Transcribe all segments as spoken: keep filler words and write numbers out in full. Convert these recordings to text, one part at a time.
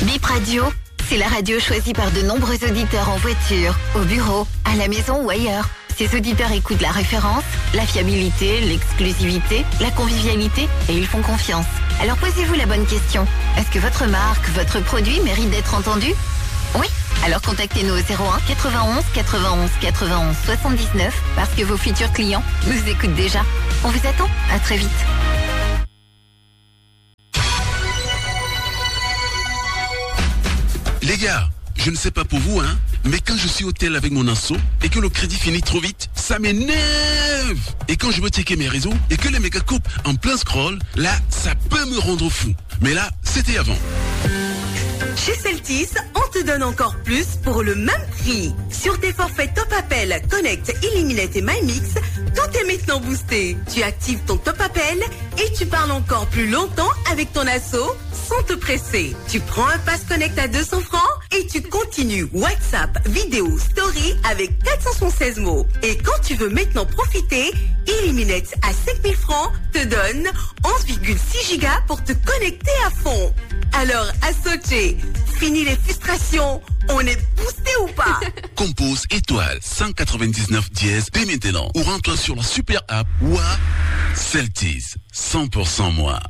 Bip Radio, c'est la radio choisie par de nombreux auditeurs en voiture, au bureau, à la maison ou ailleurs. Ces auditeurs écoutent la référence, la fiabilité, l'exclusivité, la convivialité et ils font confiance. Alors posez-vous la bonne question. Est-ce que votre marque, votre produit mérite d'être entendu ? Oui ? Alors contactez-nous au zéro un quatre-vingt-onze quatre-vingt-onze quatre-vingt-onze soixante-dix-neuf parce que vos futurs clients nous écoutent déjà. On vous attend. À très vite. Les gars, je ne sais pas pour vous, hein, mais quand je suis au tel avec mon asso et que le crédit finit trop vite, ça m'énerve. Et quand je veux checker mes réseaux et que les méga coupent en plein scroll, là, ça peut me rendre fou. Mais là, c'était avant. Chez Celtis, on te donne encore plus pour le même prix. Sur tes forfaits Top Appel, Connect, Illuminate et MyMix, tout est maintenant boosté. Tu actives ton Top Appel et tu parles encore plus longtemps avec ton asso sans te presser. Tu prends un pass Connect à deux cents francs et tu continues WhatsApp, vidéo, story avec quatre cent soixante-seize mots. Et quand tu veux maintenant profiter, Illuminate à cinq mille francs te donne onze virgule six gigas pour te connecter à fond. Alors, Associé, fini les frustrations, on est boosté ou pas ? Compose étoile cent quatre-vingt-dix-neuf dièse dès maintenant ou rends-toi sur la super app Wa Celtis, cent pour cent moi.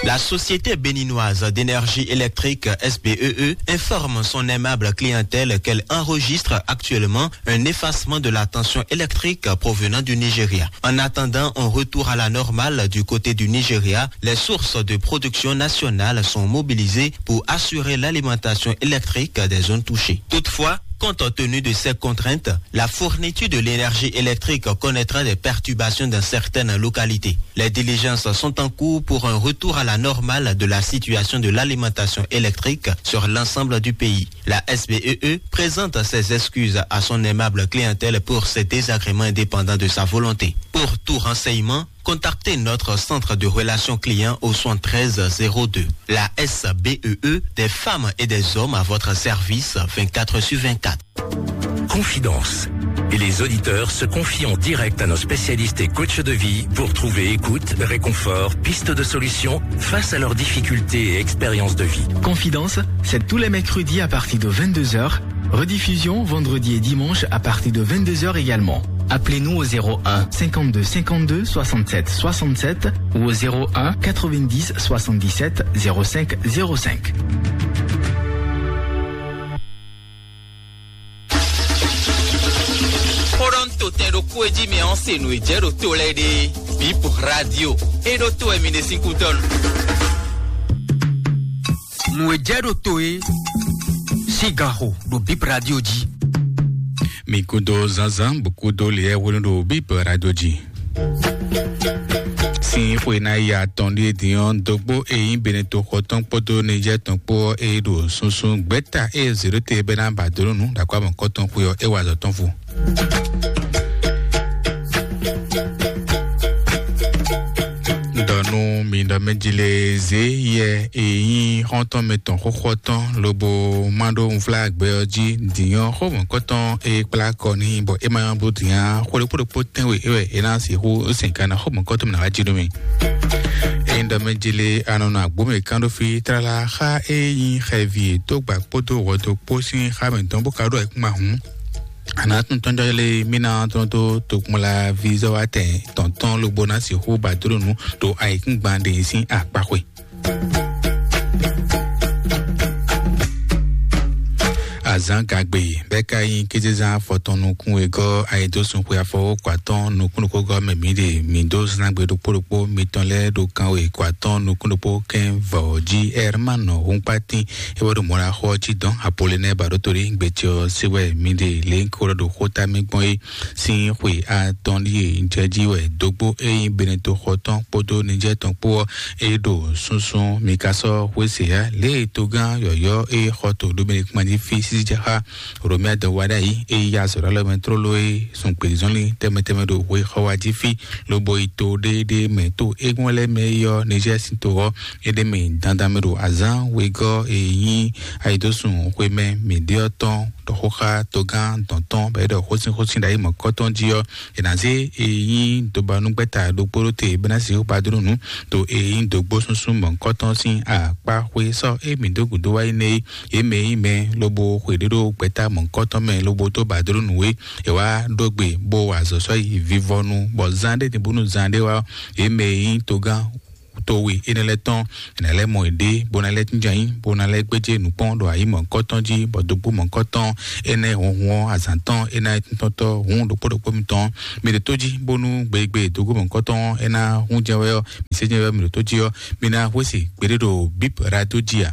La société béninoise d'énergie électrique S B E E informe son aimable clientèle qu'elle enregistre actuellement un effacement de la tension électrique provenant du Nigeria. En attendant un retour à la normale du côté du Nigeria, les sources de production nationale sont mobilisées pour assurer l'alimentation électrique des zones touchées. Toutefois, compte tenu de ces contraintes, la fourniture de l'énergie électrique connaîtra des perturbations dans certaines localités. Les diligences sont en cours pour un retour à la normale de la situation de l'alimentation électrique sur l'ensemble du pays. La S B E E présente ses excuses à son aimable clientèle pour ces désagréments indépendants de sa volonté. Pour tout renseignement, contactez notre centre de relations clients au soixante-treize zéro deux. La S B E E, des femmes et des hommes à votre service vingt-quatre sur vingt-quatre. Confidence. Et les auditeurs se confient en direct à nos spécialistes et coachs de vie pour trouver écoute, réconfort, piste de solution face à leurs difficultés et expériences de vie. Confidence, c'est tous les mercredis à partir de vingt-deux heures. Rediffusion vendredi et dimanche à partir de vingt-deux heures également. Appelez-nous au zéro un cinquante-deux cinquante-deux soixante-sept soixante-sept ou au zéro un quatre-vingt-dix soixante-dix-sept zéro cinq zéro cinq. Xó ɖɔ nú to tɛn ɖokpó e jí mi ɔ́ se nǔ e jɛ ɖo to lɛ́ɛ ɖe. Bip Radio. E ɖo to wɛ mi ɖe sín kútɔ́ nu. Nǔ e jɛ ɖo to e sín gan xo ɖo Bip Radio jí. Mi kúdó zánzán bó kúdó liyɛ hwenu ɖo Bip Radio jí. Sín xwe ná yi atɔn ɖíe din ɔ́, dógbó e nyí Beneto xɔ tɔn kpódó Nijɛ́ tɔn kpó ɔ́, e ɖo susu gbɛ́ta e zěɖóte bɛ́ ná ba dó nú nǔ ɖo akɔ́ amɔ̌kɔ́ tɔn xwe ɔ́, é wa azɔ̌ tɔn fu. Ɖɔ nú mi ɖɔ mɛ jí lé zé yɛ e nyí xɔ́ntɔn mɛ tɔn xóxó tɔn lobo má ɖó nvlágbɛ ɔ́ jí dǐnyɔ́ xó mɔ̌kɔtɔn e kplá kɔ n'i bɔ é ma nyɔ́ bló dǐn ǎ. Xó ɖokpó ɖokpó tɛ́nwe é wɛ é ná sixú sɛn ka ná xó mɔ̌kɔtɔn mɛ ná wá jí nú mi. Ényí ɖɔ mɛ jí lé a nɔ nɔ agbǒ mɛ kán ɖó fí tlala xá e nyí xɛvi e dó gba kpódó hwɛdo kpó sín xá mɛ tɔn bó ka ɖó ayǐkúngban hǔn. Anatúntɔ́njɔ́ lé mí ná tɔ́n dó tokpɔnla vízɔ́wátɛn tɔ̌ntɔ́n lobo ná sixú ba dó nǔ ɖo ayǐkúngban ɖe sín akpaxwe. Azǎn gagbe bɛ́ ka nyí kézezán afɔtɔn nukún wegɔ́ ayidósun xwe afɔwókɔ atɔ́ɔ́n nukún nukúngɔ́ mɛ mǐ ɖe mǐ dó zán gbe ɖokpó ɖokpó mitɔn lɛ́ɛ ɖo kan wekɔ atɔ́ɔ́n nukún ɖokpó kɛ́n vɔ̌ jí. Ɛrmánɔ Hunkpatín é wɛ ɖo mɔ̌ ná xɔ ɔ́ cí dɔn Apolinɛ́ɛ Baɖótolí gbecɛ ɔ́ sí wɛ mǐ ɖe lě ko ɖɔ ɖo xóta mì gbɔn é. Sín xwe atɔn ɖíe jɛ jí wɛ dógbó e nyí Beneto xɔ tɔn kpódó Nijɛ́ tɔn kpó ɔ́ é ɖo súnsún. Mi ka sɔ́ xwé se ǎ lě e togán yɔ̌yɔ́ e xɔ to Dominikman jí fí sísí jɛ xá Romia dɔn wa ɖ'ayǐ e yí azɔ̌ ɖó alɔ mɛ tlóló e sun gbězɔnlin tɛnmɛ tɛnmɛ ɖo hwe xɔ wa jí fí lobo yi to ɖéɖé mɛ to égbɔn lɛ́ɛ mɛ é yɔ́ Nizɛ́ɛ sín to ɔ́ é ɖ'é mɛ dandan mɛ ɖo azǎn wegɔ́ e nyí ayidósun xwemɛ mǐɖé ɔ́ tɔn ɖɔ xó xá togán dɔ̌ntɔn bɔ é ɖɔ xósínxósín ɖo ayi mɔ̌kɔtɔn jí ɔ́, è nǎ zé e nyí dobanúgbɛ́ta ɖokpó ɖó te bɔ é ná sixú ba dó nǔ to e nyí dǒgbó súnsún mɔ̌kɔtɔn sín akpá xwé sɔ́ e mǐ dó gǔdo wá yi nɛ é. Yě mɛ e nyí mɛ lobo xwe ɖé ɖó gbɛ̌ta mɔ̌kɔtɔn mɛ lobo dó ba dó nǔ é. È wá ɖó gbe bó wa azɔ̌ sɔ́ yi vivɔnu bɔ zán ɖé din bónú zán ɖé wá ɔ́, yě mɛ e nyí togán towe énɛ́ lɛ́ɛ tɔn, è nǎ lɛ́ mɔ yěɖée, bó ná lɛ́ jínjɔ́n ayǐ, bó ná lɛ́ gbéjé nǔkpɔ́n ɖo ayǐ mɔ̌hunkɔtɔn jí, bɔ dǒgbó mɔ̌hunkɔtɔn énɛ́ hunhun ɔ́, azǎn tɔn é ná nyí tíntɔ́ntɔ́ hǔn ɖokpó ɖokpó mitɔn. Mi ɖo tó jí, bónú gbeyígbe dǒgbó mɔ̌hunkɔtɔn é ná hún jɛ́n wɛ ɔ́, mi sé jɛ́n wɛ mi ɖo tó jí ɔ́, mi ná hwesí gbeɖé ɖo bíp radio jí a?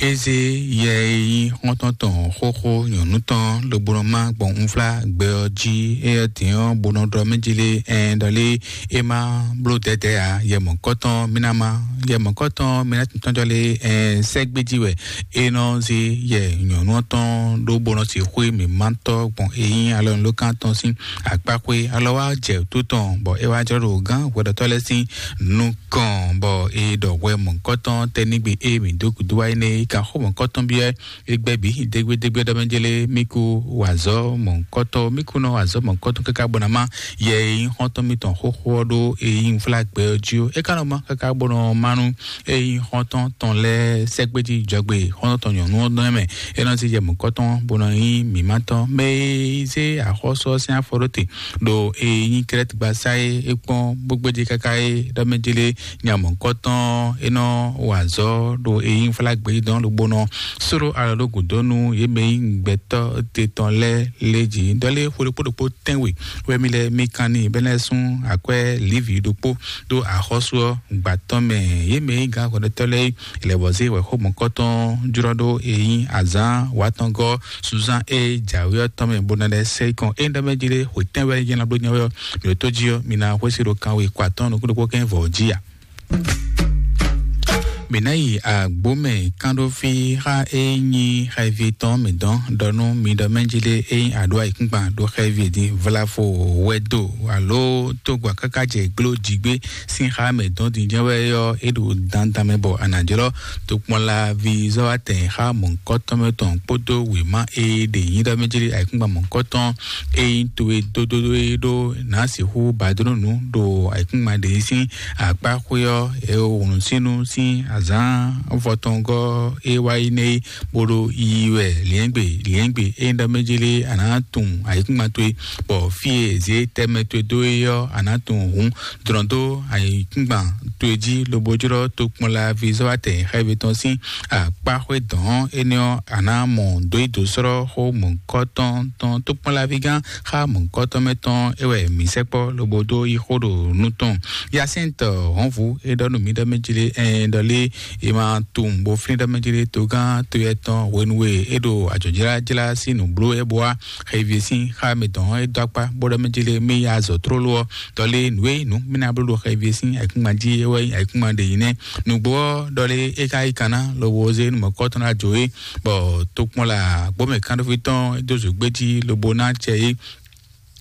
Eze yɛ e nyí xɔ́ntɔn tɔn xóxó nyɔ̌nu tɔn lobo nɔ má gbɔn unflá gbɛ ɔ́ jí. Éyɛ́ dǐn ɔ́, bo nɔ ɖɔ mɛ jí lé ɛn ɖɔ lé é má bló dɛ̌dɛ̌ ǎ. Yɛ mɔ̌kɔ́tɔn mí ná má, yɛ mɔ̌kɔ́tɔn mí ná tɔ́n jɔ lé ɛn sɛ́gbé jí wɛ é nɔ zé yɛ nyɔ̌nu ɔ́ tɔn ɖó bo nɔ sixú mǐmátɔ́ gbɔn e nyí alɔnulókan tɔn sín akpáxwé alɔ wá jɛ tó tɔn, bɔ é wá jlɔ́ ɖo gán hwɛɖɔtɔ́ lɛ́ɛ sín nukɔn, bɔ é ɖɔ hwɛ mɔ̌kɔ́tɔn tɛ́nígbe e mǐ dó gǔdo wá énɛ́ é kan xó mɔ̌kɔ́tɔn byɔ́ é gbɛ́ bǐ dégbédégbé ɖɔ mɛ jélé mí kú wazɔ́ mɔ̌kɔ́tɔn, mí kú nɔ wazɔ́ mɔ̌kɔ́tɔn káká bɔ ná má yɛ e nyí xɔ́ntɔn mítɔn xóxó ɔ́ ɖó e nyí unflágbɛ ɔ́ jí ó. É ka nɔ má káká bɔ nɔ má nú e nyí xɔ́ntɔn tɔn lɛ́ɛ sɛ́gbéjí jɔgbe xɔ́ntɔn tɔn nyɔ̌nu ɔ́ nɔ mɛ. É nɔ zí yɛ mɔ̌kɔ́tɔn bó nɔ nyí mǐmátɔn mɛ e zé axɔ́sú ɔ́ sín afɔ ɖó te ɖo e nyí Krɛ́tgbasá e é kpɔ́n bó gbéjé káká é ɖɔ mɛ jélé nya mɔ̌kɔ́tɔn é nɔ wa azɔ̌ ɖo e nyí flágbé dɔn lobo nɔ sóɖó alɔ ɖó gǔdo nú yě mɛ e nyí gbɛtɔ́ te tɔn lɛ́ɛ lé jí. Dɔlé xwe ɖokpó ɖokpó tɛ́nwe wɛ mi lɛ mi kan n'i bɛ́ lɛ́ sún akwɛ́ Livi ɖokpó ɖó axɔ́sú ɔ́ gba tɔn mɛ. Yě mɛ e nyí gǎn hwɛɖɔtɔ́ lɛ́ɛ é lɛ̌ bɔ zé wɛ̌xó mɔ̌kɔ́tɔn jlɔ́ ɖó e nyí azǎn wǎtɔngɔ́ Suzan e jǎwe ɔ́ tɔn mɛ bó ná lɛ́ sɛ kɔn é ɖɔ mɛ jí lé xwe tɛ́nwe nyɛ ná bló nyɛ wɛ ɔ́, mi ɖo tó jí ɔ́, mi ná xwésí ɖo kanwe kɔ atɔ́ɔ́n nukún ɖokpó kɛ́n vɔ̌ jí a? Mǐ ná yi agbǒmɛ kánɖófí xá e nyí xɛvi tɔn mǐ dɔn ɖɔ nú mi ɖɔ mɛ jí lé e nyí aɖǒ ayǐkúngban ɖo xɛvi din vlafo wɛdo alo tógbà káká jɛ gló jigbé sín xá mɛ dɔn din jɛ́n wɛ ɔ́, é ɖo dandan mɛ bɔ a nǎ jlɔ́ tokpɔnlaví zɔ́watɛn xá mɔ̌hunkɔtɔn mɛ tɔn kpódó wěma e ɖe nyí ɖɔ mɛ jí lé ayǐkúngban mɔ̌hunkɔtɔn e nyí towe dódódó é ɖó nǎ sixú ba dó nú nǔ ɖo ayǐkúngban ɖě sín akpá xwé ɔ́, e wlǔnsínú sín azǎn vɔtɔngɔ́ e wá yi nɛ́ é, bó ɖo yiyi wɛ liɛ́ngbe liɛ́ngbe. Ényí ɖɔ mɛ jí lé a nǎ tunwun ayǐkúngban towe, bɔ fí e zě tɛmɛ towe dó é ɔ́, a nǎ tunwun hǔn. Dlɔ̌n dó ayǐkúngban towe jí lobo jlɔ́ tokpɔnlaví zɔ́watɛn xɛvi tɔn sín akpá xwé dɔ̌n énɛ́ ɔ́, a nǎ mɔ dǒ yi dǒ slɔ́ xó mɔ̌hunkɔtɔn tɔn tokpɔnlaví gán xá mɔ̌hunkɔtɔn mɛ tɔn é wɛ mǐ sɛkpɔ́ lobo dó yí xó ɖo nú tɔn. Yasɛ́ntɔ hɔ̌nvu é ɖɔ nú mǐ ɖɔ mɛ jí lé ɛɛ ɖɔ lé è ma tunwun bó flín ɖɔ mɛ jí lé togán toyɛ tɔn hwenu e é ɖo ajɔ̌jlájlá sín nǔbló é bó wá xevi sín xá mɛ tɔn é dó akpá bó ɖɔ mɛ jí lé mí ya azɔ̌ tlóló ɔ́, ɖɔ lé nǔ e nǔ mí ná bló ɖo xevi sín ayǐkúngban jí é wɛ nyí ayǐkúngban ɖe nyí nɛ́. Nǔgbó ɔ́, ɖɔ lé é ka yí kan ná lobo zé nú mɔ̌kɔ́tɔn ná jó é, bɔ tokpɔnla gbɔmɛ kánɖófí tɔn é dó zǒgbé jí lobo ná acɛ é.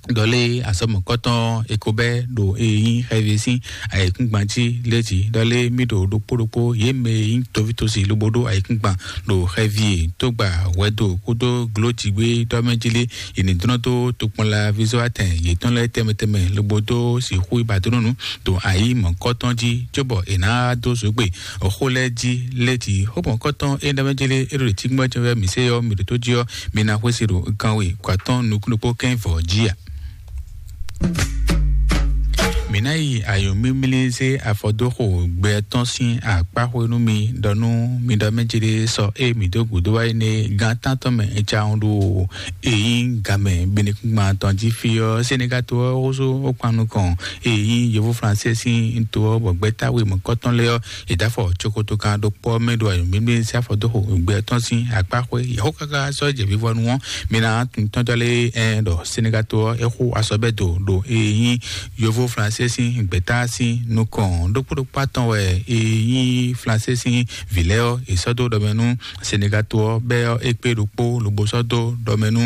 Ɖɔ lé azɔ̌ mɔ̌kɔ́tɔn é ko bɛ́ ɖo e nyí xɛvi sín ayǐkúngban jí lé jí. Ɖɔ lé mí ɖo ɖokpó ɖokpó yě mɛ e nyí toví tosi lobo ɖó ayǐkúngban ɖo xɛvi e tógbà hwɛdo kpódó glójigbé ɖɔ mɛ jí lé, yě ní dlɔ́n dó tokpɔnla vizɔ́watɛn yětɔn lɛ́ɛ tɛnmɛ tɛnmɛ lobo dó sixú yi ba dó nú nǔ ɖo ayǐ mɔ̌kɔ́tɔn jí, cóbɔ è nǎ dó zǒgbe xó lɛ́ɛ jí lé jí. Xó mɔ̌kɔ́tɔn é ɖɔ mɛ jí lé é ɖo ɖě cí gbɔn jɛ́n wɛ mǐ se ɔ́, mǐ ɖo tó jí ɔ́, mi ná xwesí ɖo kanwe kɔ atɔ́ɔ́n nukún ɖokpó kɛ́n vɔ̌ jí a? Mǐ ná yi ayǒmímlí zé afɔ dó xo gbɛ tɔn sín akpáxwé nú mi, ɖɔ nú mi ɖɔ mɛ jí ɖé sɔ ée mǐ dó gǔdo wá énɛ́ gán tántɔn mɛ é cawun ɖo èyí gamɛ binukúngban tɔn jí fí ɔ́, Senegal to ɔ́ xóso ó kpan nukɔn èyí yovó Fransɛ sín to ɔ́, bɔ gbɛ́táwé mɔ̌kɔtɔn lɛ́ɛ ɔ́, è dó afɔ cokoto kan ɖokpó ɔ́ mɛ ɖo ayǒmímlí zé afɔ dó xo gbɛ tɔn sín akpáxwé. Yɛ̌xó káká sɔ́ jɛ vivɔnu ɔ́, mi ná tɔ́njɔ́ lé ɛn ɖɔ Senegal to ɔ́ é xo asɔbɛ́do ɖo èyí yovó Fransɛ tɛ́ sín gbɛ̌ta sín nukɔn ɖokpó ɖokpó atɔn wɛ è nyí Flansé sín vǐ lɛ́ɛ ɔ́, è sɔ́ dó ɖɔmɛ nú Senegato ɔ́, bɛ́ ɔ́ é kpé ɖokpó lobo sɔ́ dó ɖɔmɛ nú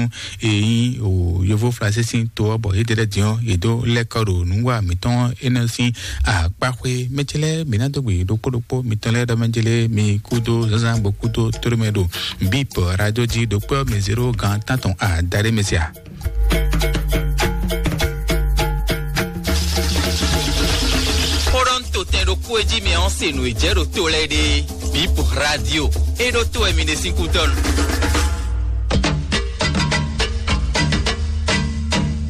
è nyí o yovó Flansé sín to ɔ́, bɔ yědɛɛ lɛ́ɛ din ɔ́, yě dó lɛ́ kɔ ɖo nǔwa mǐtɔn énɛ́ sín akpáxwé. Mɛ ce lɛ́ɛ mǐ ná dó gbe ɖokpó ɖokpó mitɔn lɛ́ɛ ɖɔmɛ jélé mi kúdó zǎnzǎn bó kúdó tóɖó mɛ ɖo bíp radio jí ɖokpó ɔ́ mi zéro gǎn tántɔn adaɖé mɛ sia. Xó ɖɔ ń to tɛn ɖokpó e jí mi ɔ́ se nǔ e jɛ ɖo to lɛ́ɛ ɖe. Bíp radio é ɖó to wɛ mi ɖe sín kú dɔn.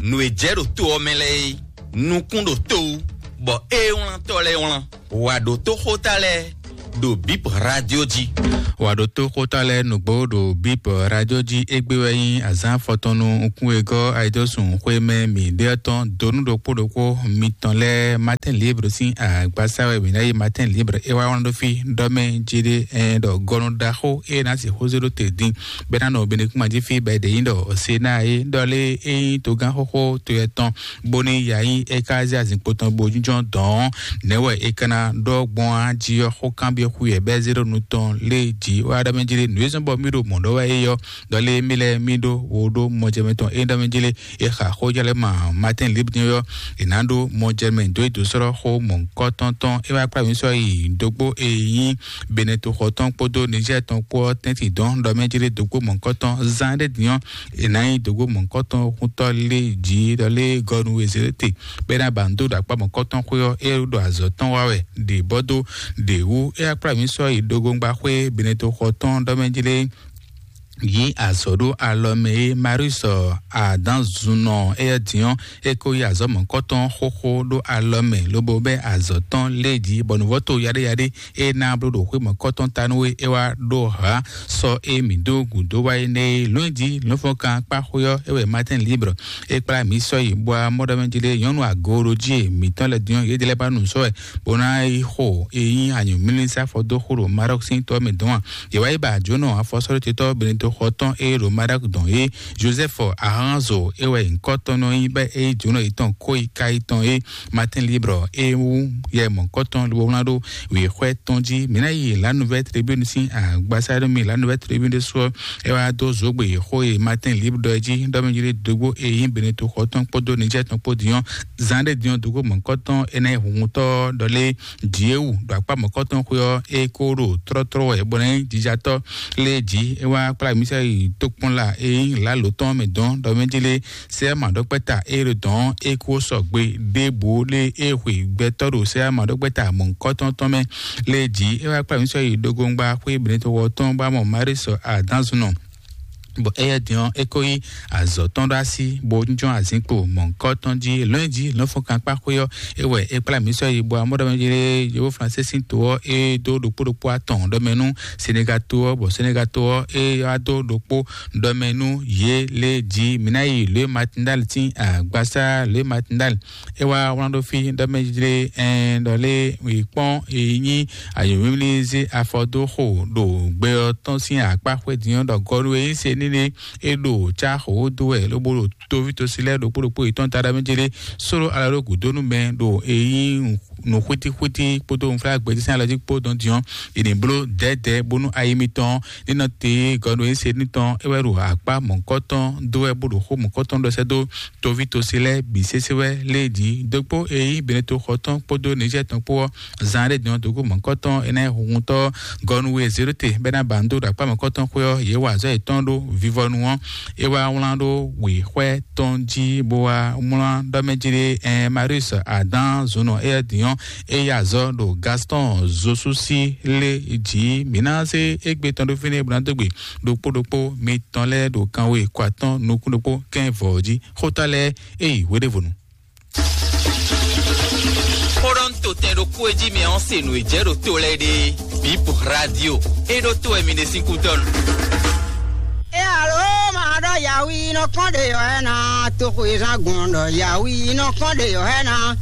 Nǔ e jɛ ɖo to ɔ́ mɛ lɛ́ɛ é, nukún ɖo to wú, bɔ é wlán tɔ́ lɛ́ɛ wlán. Wǎ ɖó tó xóta lɛ́ɛ ɖo bíp radio jí. Wǎ ɖó tó xóta lɛ́ɛ nǔgbó ɖo bíp radio jí. Égbé wɛ nyí azǎn afɔtɔn nú nukún e gɔ́ ayidɔ́sùn xwé mɛ mǐ ɖe ɔ́ tɔn dó nú ɖokpó ɖokpó mitɔn lɛ́ɛ. Matin libre sín agbasa wɛ mǐ ná yi. Matin libre é wá wlán ɖó fí ɖɔ mɛ jí ɖé ɛn ɖɔ gɔnu ɖaxó é ná sixú zé ɖó te dín bɛ́ ná nɔ benekúnma jí fí bɛ́ ɖě nyí ɖɔ Sénat é ɖɔ lé é nyí togán xóxó to yɛ tɔn bónú ya nyí é ka zé azinkpo tɔn bo jínjɔ́n dɔ̌n. Nɛ̌ wɛ è ka ná ɖɔ gbɔn á jí ɔ́? Xó kanbyɔ́ xú yɛ bɛ́ zé ɖo nu tɔn lé jí wá ɖɔ mɛ jí lé. Nǔ e zɔ́n bɔ mí ɖo mɔ̌ ɖɔ wɛ é yɔ ɖɔ lé mí lɛ́ɛ mí ɖó wo ɖó mɔjɛmɛ tɔn é ɖɔ mɛ jí lé. È xa xó jɛ lɛ́ ma Matin Libre din ɔ́, è nǎ ɖó mɔjɛmɛ dó é dó sɔ́ xó mɔ̌hunkɔtɔn tɔn. É wá kplá mǐ sɔ́ yi dógbó e nyí Beneto xɔ tɔn kpódó Niger tɔn kpó ɔ́ tɛ́ntin dɔn ɖɔ mɛ jí lé dógbó mɔ̌hunkɔtɔn zán ɖé din ɔ́, è nǎ nyí dǒgbo mɔ̌hunkɔtɔn xúntɔ́ lé jǐ ɖɔ lé gɔnu e Zelete bɛ́ ná ba nǔ dó ɖo akpá mɔ̌hunkɔtɔn xwé ɔ́, é ɖo azɔ̌ tɔn wa wɛ ɖě bɔ dó ɖě wú. É wá kplá mǐ sɔ́ yi ɖogongba xwé Beneto xɔ tɔn ɖɔ mɛ jí lé yí azɔ̌ ɖó alɔ mɛ é. Marius Adanzunɔ éyɛ́ din ɔ́, é ko yí azɔ̌ mɔ̌hunkɔtɔn xóxó ɖó alɔ mɛ lobo bɛ́ azɔ̌ tɔn lé jí bɔ nǔvɔ́ to yaɖéyaɖé é ná bló ɖo xwé mɔ̌kɔtɔn ta nú we é wá ɖó hǎ sɔ é mǐ dó gǔdo wá énɛ́ é. Lɔ̌nyijǐ lɔ̌nfɔ́nkan kpá xwé ɔ́ é wɛ Matin Libre é kplá mǐ sɔ́ yi bɔ amɔ́ɖɔmɛ jí lé nyɔ̌nu agooɖojí e mǐtɔn lɛ́ɛ din ɔ́, yě lɛ́ ba nu sɔ́ wɛ bó ná yi xo e nyí anyǔmlísá fɔ dó xo ɖo Maroc sín tɔ mɛ dɔn a? Yě wá yi ba jǒnɔ afɔsɔ́ɖótetɔ́ Beneto xɔ tɔn e ɖo Maroc dɔn é, Joseph Aranzo é wɛ nyǐkɔ tɔn nɔ nyí bɔ é yí jǒnɔ yětɔn kó yi ka yětɔn é. Matin Libre é wú yɛ mɔ̌kɔtɔn lobo wlán ɖó wěxwɛ́ tɔn jí. Mǐ ná yi La Nouvelle Tribune sín agbasá ɖo mi La Nouvelle Tribune ɖésú ɔ́, é wá dó zǒgbe xó e Matin Libre ɖɔ jí ɖɔ mɛ jí ɖé dógbó e nyí Beneto xɔ tɔn kpódó Niger tɔn kpó din ɔ́, zán ɖé din ɔ́ dógó mɔ̌kɔtɔn énɛ́ hunhuntɔ́ ɖɔ lé Dieu ɖo akpá mɔ̌kɔtɔn xwé ɔ́, é kó ɖo tlɔ́tlɔ́ wɛ bɔ ná nyí jijatɔ́ lé jí. É wá kplá mǐ sɛ yi tokpɔnla e nyí lǎlo tɔn mɛ dɔn ɖɔ mɛ jí lé sɛ maɖɔkpɛ́ta e ɖo dɔn é kó sɔgbe ɖěbǔ lé é hwe gbɛtɔ́ ɖo sɛ maɖɔkpɛ́ta mɔ̌hunkɔtɔn tɔn mɛ lé jí. É wá kplá mǐ sɔ́ yi ɖogongba xwé Benetowɔ tɔn bá mɔ Marísɔ Adánzunɔ, bɔ éyɛ́ din ɔ́, é kó yí azɔ̌ tɔn ɖó así bó jínjɔ́n azǐnkpo mɔ̌hunkɔtɔn jí. Lɔ̌nyijǐ lɔ̌nfɔnkankpá xwé ɔ́, é wɛ é kplá mǐ sɔ́ yi bɔ amɔ́ɖɔmɛjlé yovóflán sésín to ɔ́, é dó ɖokpó ɖokpó atɔn ɖɔmɛ nú Senegal to ɔ́, bɔ Senegal to ɔ́, é wá dó ɖokpó ɖɔmɛ nú yě lé jí. Mǐ ná yi Lě Matindal sín agbasá Lě Matindal. É wá wlán ɖó fí ɖɔ mɛ jlé ɛn ɖɔ lé wǐ kpɔ́n e nyí ayǒmímlí zé afɔ dó xo ɖo gbɛ ɔ́ tɔn sín akpá xwé din ɔ́ ɖɔ gɔ́ɖu e nyí se nílé é ɖo cá xo dó wɛ lobo ɖo toví tosi lɛ́ɛ ɖokpó ɖokpó yětɔn ta ɖɔ mɛ jlé sóɖó alɔ ɖó gǔdó nú mɛ ɖo e nyí nǔxwítíxwítí kpódó nǔflágbɛjí sín alɔ jí kpó dɔn din ɔ́, è nǐ bló dɛ̌dɛ̌ bónú ayi mitɔn ní nɔ te gɔ́ɖu e nyí se ní tɔn é wɛ ɖo akpá mɔ̌kɔ́tɔn dó wɛ bó ɖo xó mɔ̌kɔ́tɔn ɖɔ sɛ́ dó toví tosi lɛ́ɛ bǐ sésé wɛ lé jí dókpó e nyí Beneto xɔ tɔn kpódó Niger tɔn kpó ɔ́, zan ɖé din ɔ́ dógó mɔ̌kɔ́tɔn énɛ́ huhuntɔ́ gɔnu e Zerote bɛ́ ná ba nǔ dó ɖo akpá mɔ̌kɔ́tɔn xwé ɔ́, yě wa azɔ̌ yětɔn ɖó vivɔnu ɔ́. É wá wlán ɖó wěxwɛ tɔn jí bó wá wlán ɖɔ mɛ jí ɖé ɛn Marius Adán zunɔ éyɛ́ din ɔ́, é yí azɔ̌ ɖo Gaston Zosusi lé jí. Mǐ ná zé égbé tɔn ɖó fínɛ́ bó ná dó gbe ɖokpó ɖokpó mitɔn lɛ́ɛ ɖo kanwe kɔ atɔ́ɔ́n nukún ɖokpó kɛ́n vɔ̌ jí. Xóta lɛ́ɛ é yi hweɖévonu. Xó ɖɔ ń to tɛn ɖokpó e jí mi ɔ́ se nǔ e jɛ ɖo to lɛ́ɛ ɖe. Bip radio é ɖó to wɛ mi ɖe sín kú dɔn. E alo ma ɖɔ yawi nɔ kɔn ɖe yɔ ɛ na, toxo e zan gbɔn ɖɔ yawi nɔ kɔn ɖe yɔ ɛ na.